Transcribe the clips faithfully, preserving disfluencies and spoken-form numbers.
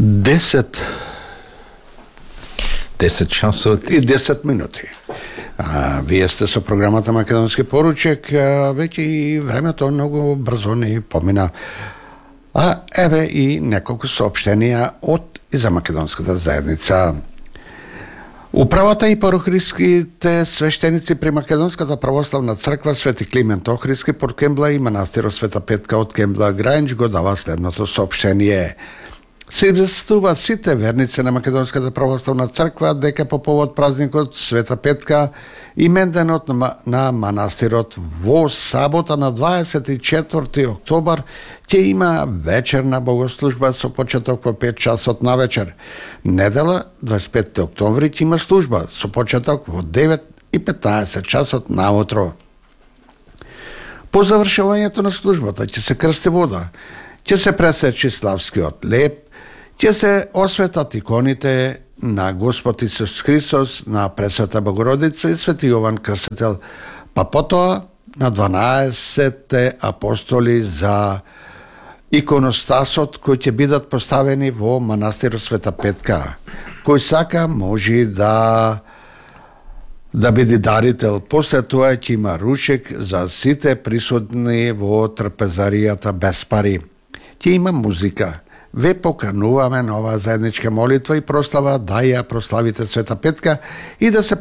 десет десет часот и десет минути. А, вие сте со програмата Македонски поручек, а, веќе и времето многу брзо ни помина. А еве и неколку соопштенија од и за македонската заедница. Управата и парохристските свештеници при Македонската православна црква Свети Климент Охридски под Кембла и манастирот Света Петка од Кембла Граинч го дава следното соопштение. Се известува сите верници на Македонската православна црква дека по повод празникот Света Петка именденот на, на манастирот во сабота на дваесет и четврти октобар ќе има вечерна богослужба со почеток во пет часот на вечер. Недела дваесет и петти октомври ќе има служба со почеток во девет и петнаесет часот наутро. По завршувањето на службата ќе се крсти вода, ќе се пресечи славскиот леп, ќе се осветат иконите на Господ Исус Христос, на Пресвета Богородица и Свети Јован Крстител, па потоа на дванаесетте апостоли за иконостасот кои ќе бидат поставени во манастирот Света Петка. Кој сака може да да биде дарител. После тоа ќе има ручек за сите присутни во трпезаријата без пари. Ќе има музика. Ве покануваме на оваа заедничка молитва и прослава да ја прославите Света Петка и да се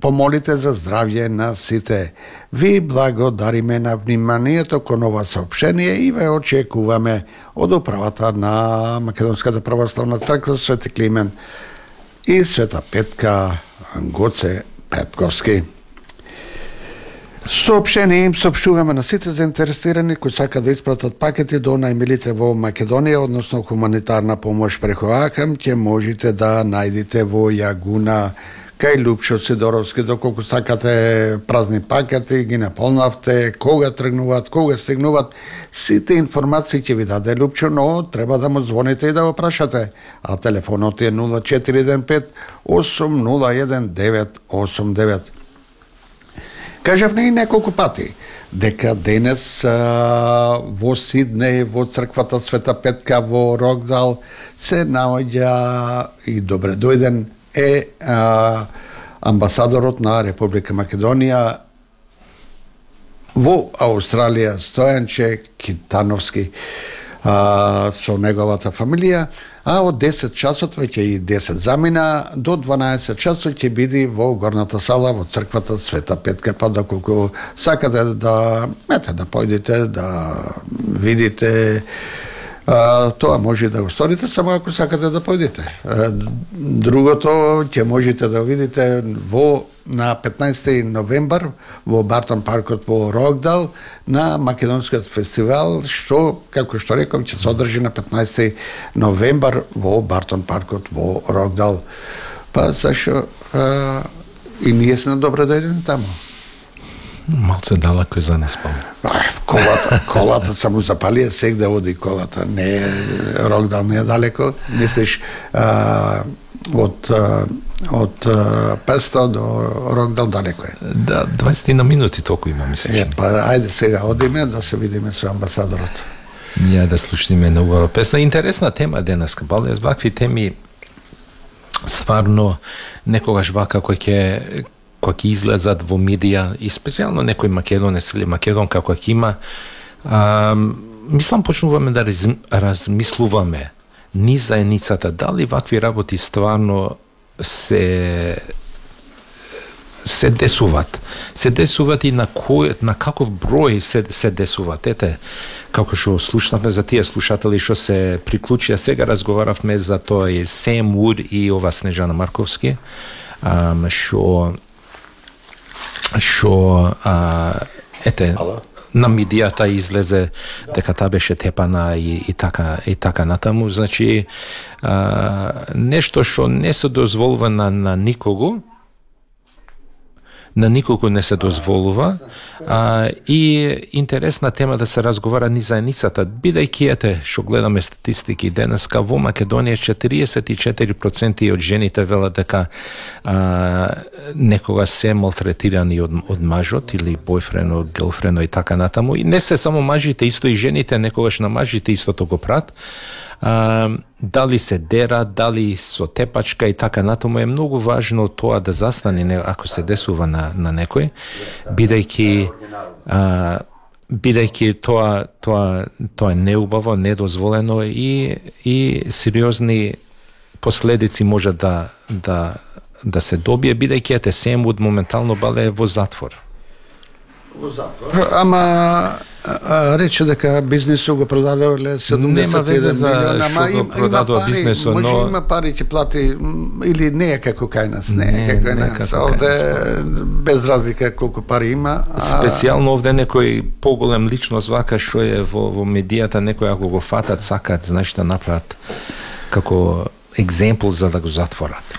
помолите за здравје на сите. Ви благодариме на вниманието кон ова соопштение и ве очекуваме од управата на Македонската православна црква Свети Климент и Света Петка Гоце Петковски. Соопштение им соопштуваме на сите заинтересирани кои сакаат да испратат пакети до најмилите во Македонија, односно хуманитарна помош преку АКАМ, ќе можете да најдете во Јагуна кај Лупчо Сидоровски. Доколку сакате празни пакети, ги наполнавте, кога тргнуваат, кога стигнуваат, сите информации ќе ви даде Лупчо, но треба да му звоните и да го прашате. А телефонот е нула четири еден пет осум нула еден девет осум девет. Кажавме и неколку пати дека денес а, во Сиднеј, во црквата Света Петка во Рокдал се наоѓа и добре дојден е а, амбасадорот на Република Македонија во Австралија Стојанче Китановски а, со неговата фамилија. А од десет часот, веќе и десет замина, до дванаесет часот ќе биде во горната сала во црквата Света Петка, па доколку сакате да мете да појдете, да видите, а, тоа може да го сторите, само ако сакате да појдете. Другото ќе можете да видите во на петнаесети новембар во Бартон паркот во Рокдал на македонскиот фестивал, што, како што реков, ќе се одржи на петнаесети новембар во Бартон паркот во Рокдал. Па зашо а, и ние сме добре дојдени таму. Малце далеко и за не спам. Колата, колата само запалија, сек да води колата. Не, Рокдал не е далеко. Мислиш, а, од од петстотини до Рокдал далеко е. Да, дваесет на минути толку има, мислиш. Е, па ајде сега одиме да се видиме со амбасадорот. Ја да слушниме нова песна. Интересна тема денеска. Бале, вакви теми стварно некогаш вака кој ќе кој ќе излезат во медија и специјално некој македонец или македонка кој ќе има, а, мислам почнуваме да раз, размислуваме низ заедницата, дали вакви работи стварно се се десуват. Се десуват и на кој, на каков број се се десуват. Ете, како што слушнавме за тие слушатели што се приклучија, сега разговаравме за тоа и Сем Вуд и ова Снежана Марковски, а, што што а, ете Ало? На медијата излезе дека таа беше тепана и, и така и така натаму, значи а, нешто што не се дозволува на, на никого, на никого не се дозволува, а, и интересна тема да се разговара ни заедницата, бидејќи ете што гледаме статистики денеска во Македонија четириесет и четири проценти од жените велат дека а, некога се малтретирани од, од мажот или бојфрено, гелфрено и така натаму, и не се само мажите, исто и жените некогаш на мажите истото го прат. А, дали се дера, дали со тепачка и така натаму е многу важно тоа да застане ако се десува на, на некој, бидејќи а, бидејќи тоа тоа тоа е неубаво, недозволено и и сериозни последици може да да да се добие, бидејќи ете Семвуд моментално бале во затвор. Во затвор. Ама а, рече дека бизнисот го продадоле седумдесет и еден милиона, ама им, има пари, бизнесо, може но... има пари ќе плати или не е како кај нас, не е како кај нас. Овде без разлика колку пари има. А... Специјално овде некој поголем личност вака што е во, во медијата, некој ако го фатат, сакат, знаеш да направат како екземпл за да го затворат.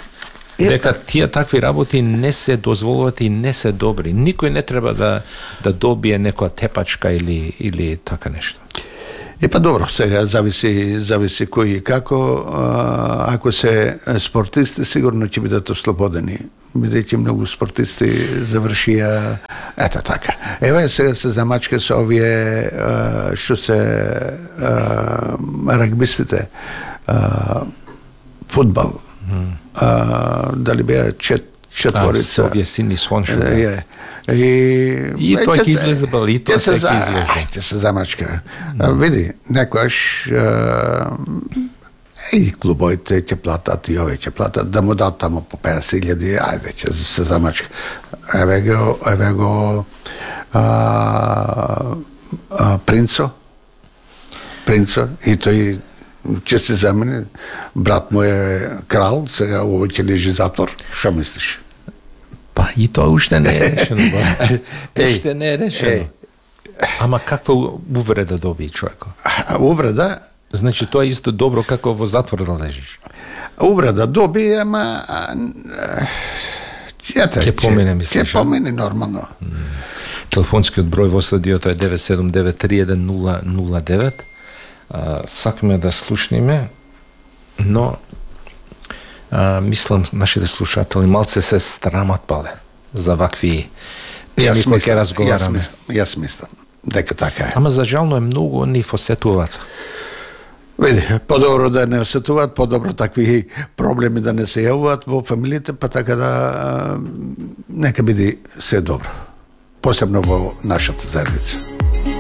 Дека тие такви работи не се дозволуваат и не се добри. Никој не треба да да добие некоја тепачка или или така нешто. Е па добро, сега зависи зависи кој и како. А, ако се спортисти сигурно ќе бидат ослободени. Бидејќи многу спортисти завршија ето така. Ева сега се замачка со овие а, што се а, рагбистите, а, фудбал. Mm. А, дали беа чет, четворица. А, овие сини слоншови. Е, и и тоа ќе излезе бали, тоа се ќе излезе. Ќе се замачка. Mm. Види, некојаш и клубоите ќе платат, и овие ќе платат, да му дат тамо по песет илјади, ајде, ќе се замачка. Еве го, еве го а, а, Принцо, Принцо, и тој ќе се замени, брат му е крал, сега овој ќе лежи затвор. Што мислиш? Па и тоа уште не е решено. Уште не е решено. Ама каква увреда доби човеко? Увреда? Значи тоа е исто добро како во затвор да лежиш. Увреда доби, ама ете, ќе помине, мислиш? Ќе помине нормално. Телефонскиот број во студиото е девет седум девет три еден нула нула девет. Uh, сакаме да слушниме, но uh, мислам нашите слушатели малце се страмат пале за вакви теми кои ќе разговараме. Јас мислам, јас мислам дека така е. Ама за жално е многу ни осетуваат. Види, подобро да не осетуваат, подобро такви проблеми да не се јавуваат во фамилиите, па така да uh, нека биде се добро. Посебно во нашата заедница.